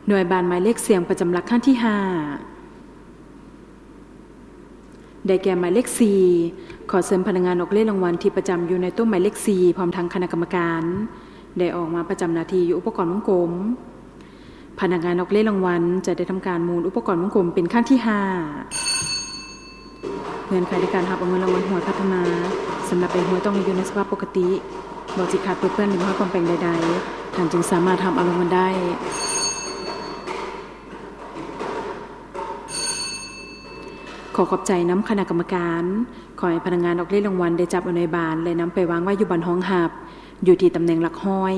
ໜ່ວຍບານໝາຍເລກສ່ຽງປະຈຳຫຼັກຄັ້ງທີຫ້າ ໄດ້ແກ່ໝາຍເລກສີ່. ຂໍເຊີນພະນັກງານອອກເລກລາງວັນທີ່ປະຈຳຢູ່ໃນໂຕະໝາຍເລກສີ່ ພ້ອມທັງຄະນະກຳມະການ ໄດ້ອອກມາປະຈຳໜ້າທີ່ຢູ່ອຸປະກອນວົງກົມ. ພະນັກງານອອກເລກລາງວັນຈະໄດ້ທຳການໝູນອຸປະກອນວົງກົມເປັນຄັ້ງທີຫ້າ. ເງື່ອນໄຂໃນການຮັບເອົາເງິນລາງວັນຫວຍພັດທະນາ ສຳລັບໃບຫວຍຕ້ອງມີຢູ່ໃນສະພາບປົກກະຕິ, ບໍ່ຕິດຂັດ, ເປິດເປື້ອນ ຫຼື ບໍ່ມີຄວາມແປງໃດໆ, ທ່ານຈຶ່ງສາມາດຮັບເອົາລາງວັນໄດ້. ຂໍຂອບໃຈນຳຄະນະກຳມະການ. ຂໍໃຫ້ພະນັກງານອອກເລກລາງວັນໄດ້ຈັບເອົາໜ່ວຍບານ ແລະ ນຳໄປວາງໄວ້ຢູ່ບ່ອນຮອງຮັບ ຢູ່ທີ່ຕຳແໜ່ງຫຼັກຮ້ອຍ.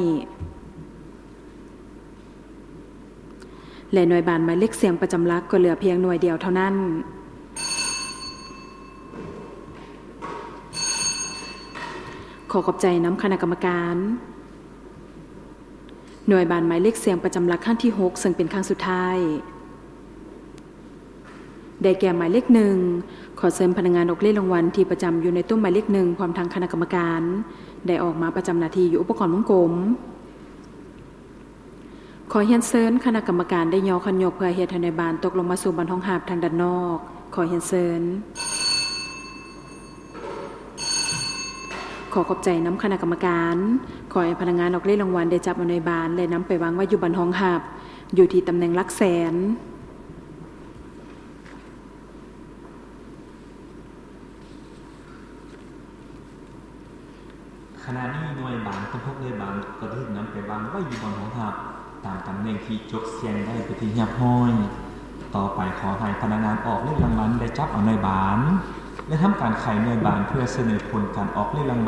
ແລະ ໜ່ວຍບານໝາຍເລກສ່ຽງປະຈຳຫຼັກກໍເຫຼືອພຽງໜ່ວຍດຽວເທົ່ານັ້ນ. ຂໍຂອບໃຈນຳຄະນະກຳມະການ. ໜ່ວຍບານໝາຍເລກສ່ຽງປະຈຳຫຼັກຄັ້ງທີຫົກ ເຊິ່ງເປັນຄັ້ງສຸດທ້າຍ ໄດ້ແກ່ໝາຍເລກໜຶ່ງ. ຂໍເຊີນພະນັກງານອອກເລກລາງວັນທີ່ປະຈຳຢູ່ໃນໂຕະໝາຍເລກໜຶ່ງ ພ້ອມທັງຄະນະກຳມະການ ໄດ້ອອກມາປະຈຳໜ້າທີ່ຢູ່ອຸປະກອນວົງກົມ. ຂໍຮຽນເຊີນຄະນະກຳມະການໄດ້ຍໍຄັນຍົກເພື່ອເຮັດໃຫ້ໜ່ວຍບານຕົກລົງມາສູ່ບ່ອນຮອງຮັບທາງດ້ານນອກ. ຂໍຮຽນເຊີນ. ຂໍຂອບໃຈນຳຄະນະກຳມະການ. ຂໍໃຫ້ພະນັກງານອອກເລກລາງວັນໄດ້ຈັບເອົາໜ່ວຍບານ ແລະ ນຳໄປວາງໄວ້ຢູ່ບ່ອນຮອງຮັບ ຢູ່ທີ່ຕຳແໜ່ງຫຼັກແສນ. ຂະນະນີ້ໜ່ວຍບານທັງຫົກໜ່ວຍບານກໍໄດ້ຖືກນຳໄປວາງໄວ້ຢູ່ບ່ອນຮອງຮັບ ຕາມຕຳແໜ່ງທີ່ຈົດສ່ຽງໄດ້ເປັນທີ່ຮຽບຮ້ອຍ. ຕໍ່ໄປຂໍໃຫ້ພະນັກງານອອກເລກລາງວັນໄດ້ຈັບເອົາໜ່ວຍບານ ແລະ ທຳການໄຂໜ່ວຍບານເພື່ອສະເໜີຜົນການອອກເລກລາງວັນ